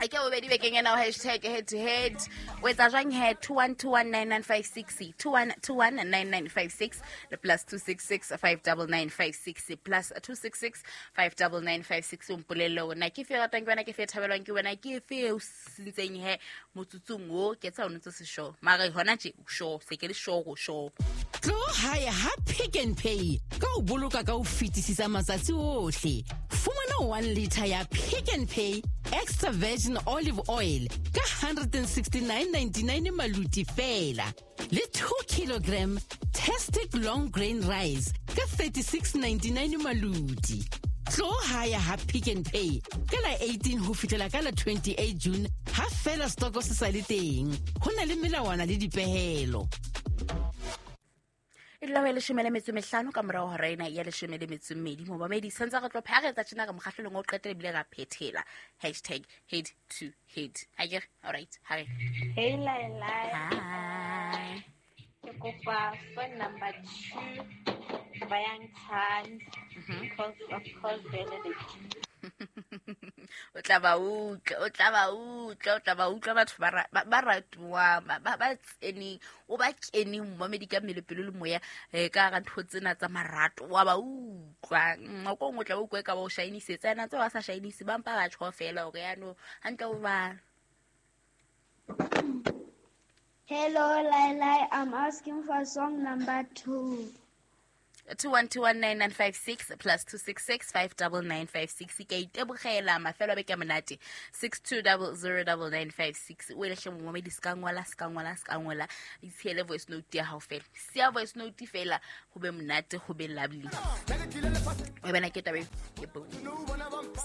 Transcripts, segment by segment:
A ke bobedi bekeng ena hashtag head to head. O etsa jwang he? 21219956, 21219956 le plus 266 59956, plus 266 59956. O mpolelle hore na ke fe ratang ke wena, ke fe thabelwang ke wena, ke fe o sentseng he motsotsong o ke tsa o ntse se sure, mara hona tje o sure, se ke le sure go sure. Tlo hae ha Pick n Pay ka ho boloka ka ho fetisisa matsatsi ohle. Fumana 1 liter ya Pick n Pay extra virgin olive oil ka 169.99 maluti fela, le 2 kilogram Tastic long grain rice ka 36.99 maluti. Tlo hae ha Pick n Pay ka la 18 ho fihlela ka la 28 June, ha fela stoko se sa le teng. Ho na le melawana le dipehelo. E dula ho e 15 ka morao hora ena ya 12. Momamedi, santse re tlo pharetsa tjena re mokgahlelong o qetela ebile ra phethela hashtag head to head. Ha ke re? All right, ha re. Hey, Laila. Hi. Ke kopa phone number 2 Bayangthanda. Because of course vele le O tla ba utlwa, o tla ba utlwa, o tla ba utlwa batho ba ratuwang, ba tseneng, o ba keneng momamedi ka mmele, pelo le moya, ka hara ntho tsena tsa marato, wa ba utlwa. Nako e nngwe o tla ba utlwa e ka ba o shainisetsa, ena tse ba sa shainise, ba mpa ba tjho fela hore yano, hantle o ba. Hello, Laila. I'm asking for song number 2. 21219956 plus 266 59956. Ke itebogela mafelo a beke a monate. 62009956. O elehle momamedi, se ka ngola, se ka ngola, se ka ngola. Itshiele voice note ya hao fela. Siya voice note fela, ho be monate, ho be lovely. O bona ke taba e ke bo.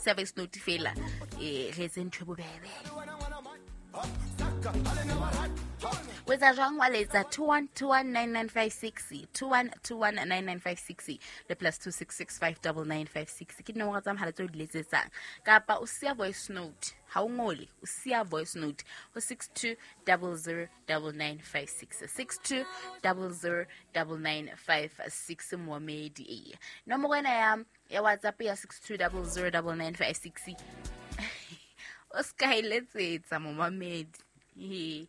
Siya voice note fela, re etse ntho e bobebe. O etsa jwang? Wa letsa 21219956, 21219956 le plus 266 59956 ke dinomoro tsa mohala tseo di letsetsang, kapa o siya voice note. Ha o ngole, o siya voice note ho 62009956, 62009956. Moamedi, ee, nomoro ena ya WhatsApp ya 62009956 o se ka e letsetsa momamedi. Ee,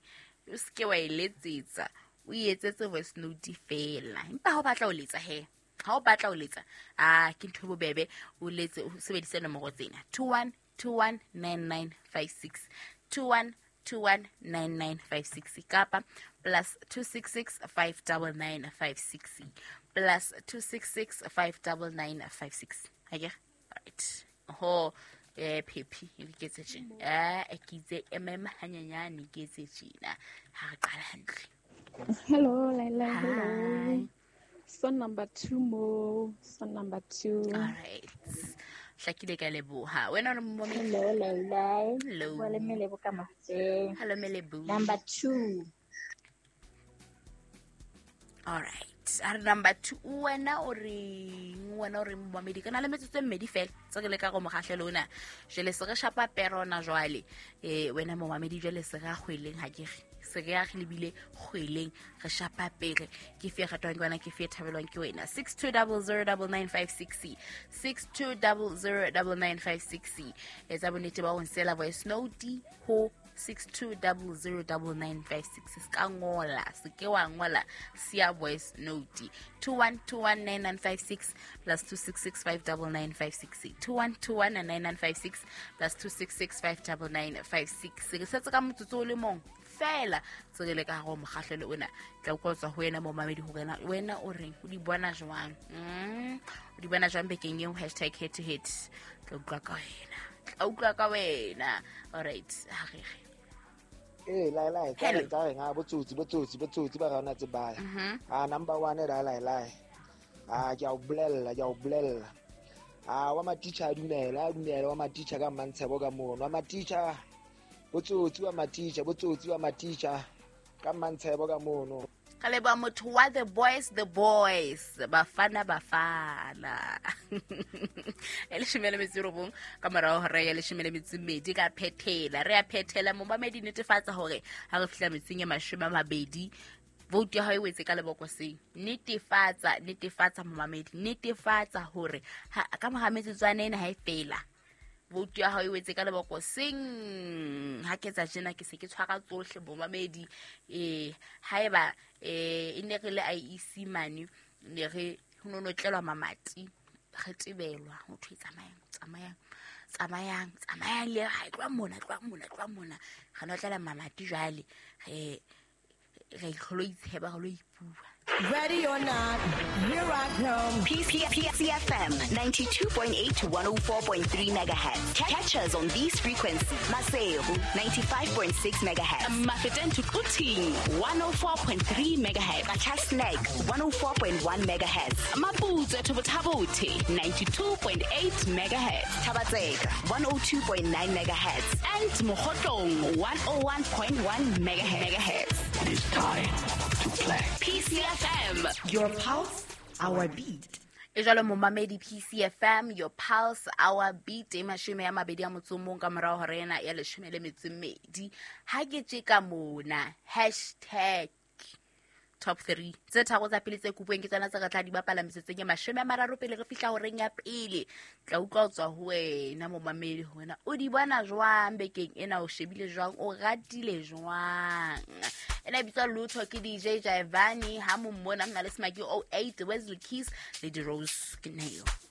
o se ke wa e letsetsa, o e etsetse voice note fela. Empa ha o batla ho letsa he, ha o batla ho letsa, a ke ntho e bobebe, o letse o sebedise nomoro tsena 21219956, 21219956 kapa plus 266 59956, plus 266 59956. Ha ke re? Right. Ho, phephi, e ke etse tjena. Ke itse mm hanyenyane, ke etse tjena. Ha re qala hantle. Hello, Laila. Hello. Hi. Song number 2 mo. Song number 2. All right. Hlakile ka leboha. Wena o re momamedi? Hello, Laila. Hello. Bua le Melebo ka Matseng. Hello, Melebo. Number 2. All right. A re number 2. Wena o reng? Wena o reng momamedi? Ke na le metsotso e mmedi fela tse re leka go mokgahlelo ona. Jwale se re shapa perona jwale. Wena momamedi jwale se re a kgweleng, ha ke re. Se re a re lebile kgweleng, re shapa pere. Ke fe ratwang ke wena, ke fe thabelwang ke wena. 62009956, 62009956. Etsa bonnete ba ho nsela voice note ho 62009956. Se ka ngola, se ke wa ngola, siya voice note. 21219956 plus 266 59956, 21219956 plus 266 59956. Re setse ka motsotso o le mong fela tse re le ka hare ho mokgahlelo ona. Tla utlwa ho tswa ho wena momamedi hore wena o reng, o di bona jwang? O di bona jwang bekeng eo? Hashtag head to head. Tla utlwa ka wena, tla utlwa ka wena. All right, ha re re. Ee, lai, lai, tsa Hello. reng, tsa reng, botsotsi, botsotsi, botsotsi ba rona tse baya. Number 1, lai, lai, lai. Ke a o bolella, ke a o bolella. Wa matitjha a dumela, a dumela, wa matitjha ka Mmantshebo ka mono. Wa matitjha, botsotsi wa matitjha, botsotsi wa matitjha ka Mmantshebo ka mono. Ka leboha motho wa the boys, the boys, Bafana, Bafana. E 19 ka morao hora ya 12 ka phethela. Re a phethela momamedi, netefatsa hore ha re fihla metsing e 20 Vote ya hao e wetse ka lebokoseng. Netefatsa, netefatsa momamedi, netefatsa hore ka mora metsotswana ena ha e fela, vote ya hao e wetse ka lebokoseng. Ha ke etsa tjena ke se ke tshwara tsohle momamedi. Haeba e ne re le IEC mane, ne re ho no notlelwa mamati, re tebelwa ho thwe tsamayang, tsamayang, tsamayang, tsamayang le ha tloha mona, tloha mona, tloha mona. Re notlela mamati jwale, re re lo itsheba, re lo ipua. Ready or not, here I come. PCFM 92.8 to 104.3 megahertz. Catch us on these frequencies. Maseru 95.6 megahertz. Mafeteng to Quthing 104.3 megahertz. Qacha's Nek 104.1 megahertz. Maputswe to Botha-Bothe 92.8 megahertz. Thaba-Tseka 102.9 megahertz. And Mokhotlong 101.1 megahertz. It is time to play. PCFM, your pulse, our beat. E jwalo momamedi, PCFM, your pulse, our beat. E 21 ka morao hora ena ya 12. Ha ke tjeka mona, hashtag top 3. Tse tharo tsa pele tse kopuweng ke tsona tse re tla di bapala metsotsong e 30 pele re fihla horeng ya pele. Tla utlwa ho tswa ho wena momamedi, ho wena o di bona jwang bekeng ena, o shebile jwang, o ratile jwang. Ena e bitswa Lutho ke DJ Jaivani, ha mo mmona mna le Smaki 08, Wesley Keys le di Rose Kineo.